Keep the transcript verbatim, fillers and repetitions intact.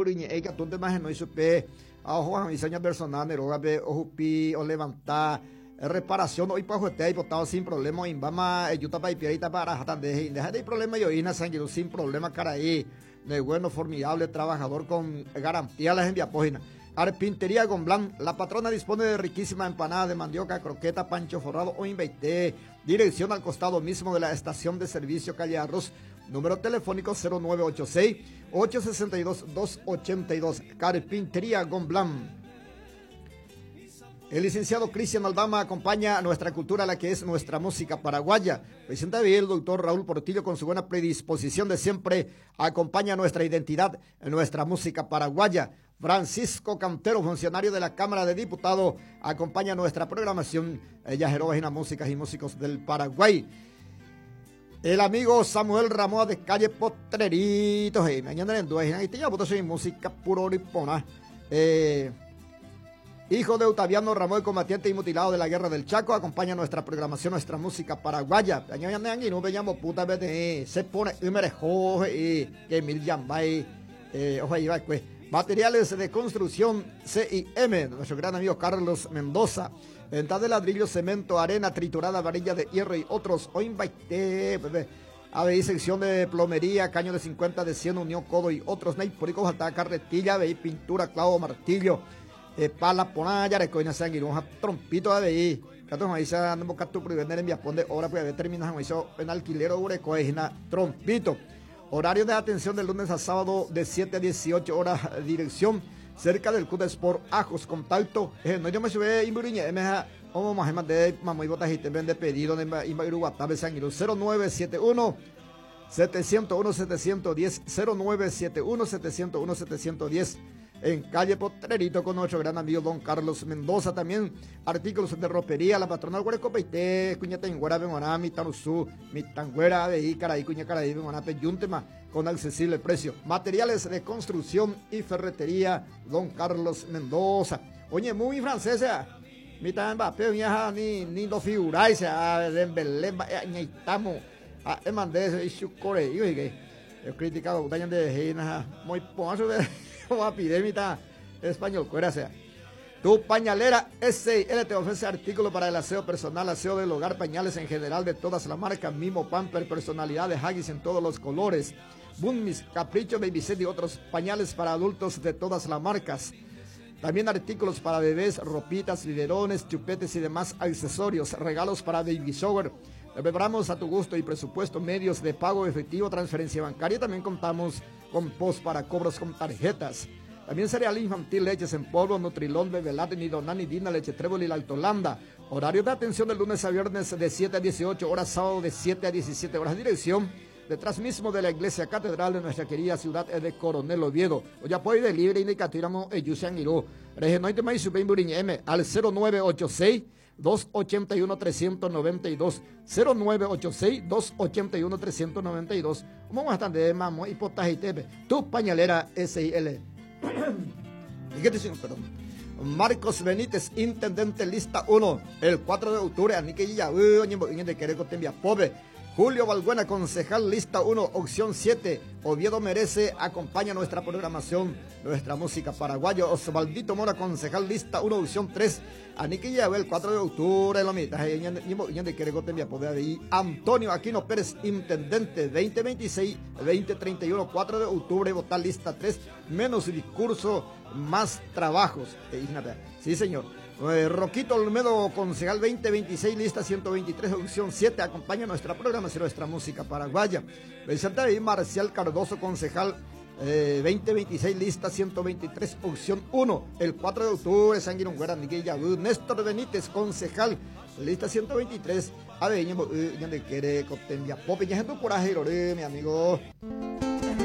Imburuñe katunte más no supe a ojo diseño personal de rogape ojupi o levantar reparación hoy pa juete botado sin problema imbama yuta pa ipierita para jatande deja de problema yo ina sanguino sin problema caraí de bueno formidable trabajador con garantía las envía página. Carpintería Gomblán, la patrona dispone de riquísima empanada de mandioca, croqueta, pancho forrado o inveité. Dirección al costado mismo de la estación de servicio calle Arroz. Número telefónico cero nueve ocho seis, ocho sesenta y dos, dos ochenta y dos. Carpintería Gomblán. El licenciado Cristian Aldama acompaña a nuestra cultura, la que es nuestra música paraguaya. Presenta bien el doctor Raúl Portillo con su buena predisposición de siempre. Acompaña nuestra identidad, nuestra música paraguaya. Francisco Cantero, funcionario de la Cámara de Diputados, acompaña nuestra programación. Ella Jeroba, músicas y músicos del Paraguay. El amigo Samuel Ramón de calle Potrerito. Hey, mañana en dos, y te llamo, soy música puro ripona. Eh, hijo de Octaviano Ramón, combatiente y mutilado de la Guerra del Chaco, acompaña nuestra programación, nuestra música paraguaya. Se pone y que mil yambay, pues. Materiales de construcción C I M, nuestro gran amigo Carlos Mendoza. Venta de ladrillo, cemento, arena triturada, varilla de hierro y otros. A B I, sección de plomería, caño de cincuenta, de cien, unión, codo y otros. Neipurico, falta carretilla, B I, pintura, clavo, martillo. Eh, pala, ponaya, recoina, sanguironja, trompito, A B I. Cato, maíz, ando buscando tu vender en Viapón de obra, pues, termina, maíz, en alquiler, urecoina, trompito. Horario de atención de lunes a sábado de siete a dieciocho horas, dirección cerca del Club de Sport Ajos, contacto. Eh, no, yo me sube Imburuña, M J, o más de Mamoy Botajite, vende pedido de Imba Iruguatabe, Sanguiru, cero nueve siete uno, setecientos uno, setecientos diez, cero nueve siete uno, setecientos uno, setecientos diez. En calle Potrerito con nuestro gran amigo don Carlos Mendoza. También artículos de ropería, la patrona Guarecopeite, Cuña Tenguera, Benguaná, Mitanusú, Mitanguera, de Icaraí, Cuña Caraí, Benguaná, Peyúntema, con accesible precio. Materiales de construcción y ferretería, don Carlos Mendoza. Oye, muy francesa, Mitan Mbappé, mija, ni, ni lo figuráis, a Dembélé, ñaitamo, a Emandés, y su core, y oye, he criticado, de Gina, muy ponzo de epidemia español, cuera sea. Tu pañalera S I L te ofrece artículos para el aseo personal, aseo del hogar, pañales en general de todas las marcas, Mimo, Pamper, personalidades, Huggies en todos los colores, Bummis, Capricho, Baby Set y otros pañales para adultos de todas las marcas. También artículos para bebés, ropitas, biberones, chupetes y demás accesorios, regalos para baby shower. Te preparamos a tu gusto y presupuesto, medios de pago efectivo, transferencia bancaria. También contamos con post para cobros con tarjetas. También cereal infantil, leches en polvo, Nutrilón, Bebelat, Nidonani, Dina, leche Trébol y Lactolanda. Horario de atención de lunes a viernes de siete a dieciocho horas, sábado de siete a diecisiete horas. Dirección detrás mismo de la iglesia catedral de nuestra querida ciudad de Coronel Oviedo. O ya puede libre indicatiramo Eyusian Irú. Regenoite Maisupeimburiñ M al cero nueve ocho seis, dos ochenta y uno, trescientos noventa y dos, cero nueve ocho seis, dos ochenta y uno, trescientos noventa y dos. ¿Cómo están de mamo y potaje T V? Tu pañalera S I L. ¿Y qué te dicen? Perdón. Marcos Benítez, intendente lista uno, el cuatro de octubre, Anique ya, uy, oñe, oñe, de Quereco, Tembia, pobre. Julio Balbuena, concejal lista uno, opción siete. Oviedo merece, acompaña nuestra programación, nuestra música paraguayo. Osvaldito Mora, concejal lista uno, opción tres. Anique Yabel, el cuatro de octubre, lo mitad. Antonio Aquino Pérez, intendente, veinte veintiséis, veinte treinta y uno, cuatro de octubre, votar lista tres. Menos discurso, más trabajos. Eh, sí, señor. Eh, Roquito Olmedo, concejal veinte veintiséis, lista ciento veintitrés, opción siete, acompaña nuestra programación, nuestra música paraguaya. Vicente y Marcial Cardoso, concejal, eh, veinte veintiséis, lista ciento veintitrés, opción uno, el cuatro de octubre, San Guirón, Miguel Yabú. Néstor Benítez, concejal, lista ciento veintitrés, A B, Ñembo, eh, Ñande Quere, Cotembia, Pope, Ñe, Gente, Coraje, Lore, mi amigo.